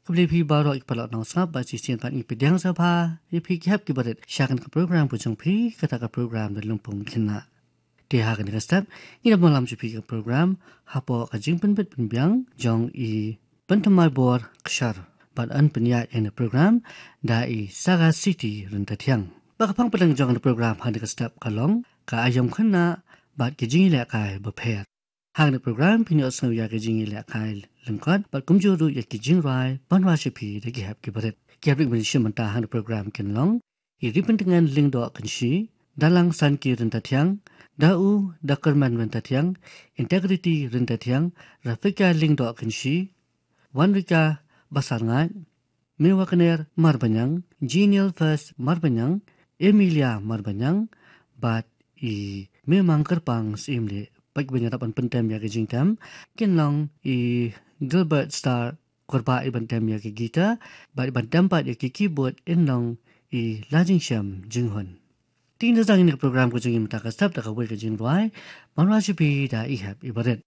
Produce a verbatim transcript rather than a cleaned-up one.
Khublei phi baroh ki paralok nongsngap, bad shisien pat ngi pdiang sngewbha ïa phi ki hep ki barit sha kane ka program ka jong phi, kata ka program Lympung Khynnah. Te ha kane ka step ngin ïa pynlong sha phi ka program hapoh ka jingpynbit pynbiang jong i Pynthymmai Bor Kshar, bad yn pynïaid ïa kane ka program da i Saga Siti Ryntathiang. Bad ka phang pdeng jong kane ka program ha kane ka step ka long ka aïom khynnah bad ki jingïalehkai bapher. Ha kane ka program phin ïohsngew ïa ki jingïalehkai lyngkot bad kumjuh ruh ïa ki jingrwai ban wad sha phi da ki hep ki barit. Ki hep ba ngin ïa shim mynta ha kane ka program kin long i Ripyntngen Lyngdoh Kynshi, Da Langsanki Ryntathiang, Da U Da Kyrmen Ryntathiang, Integrity Ryntathiang, Rafika Lyngdoh Kynshi, Wanrika Basarngaid, Mewakner Marbaniang, Genial First Marbaniang, Emilia Marbaniang, bad i Memang Kyrpang Syiemlieh. Bad kiban ïarap ban pyntem ïa ka jingtem kin long i Gilbert Star Kurbah, iban tem ïa ka guitar, bad iban tem pat ïa ka keyboard in long i Lajingshem Jinghun. Te ngin ïa sdang ïa kane ka program ka jong ngi mynta ka step da kawei ka jingrwai ban wad sha phi da i hep i barit.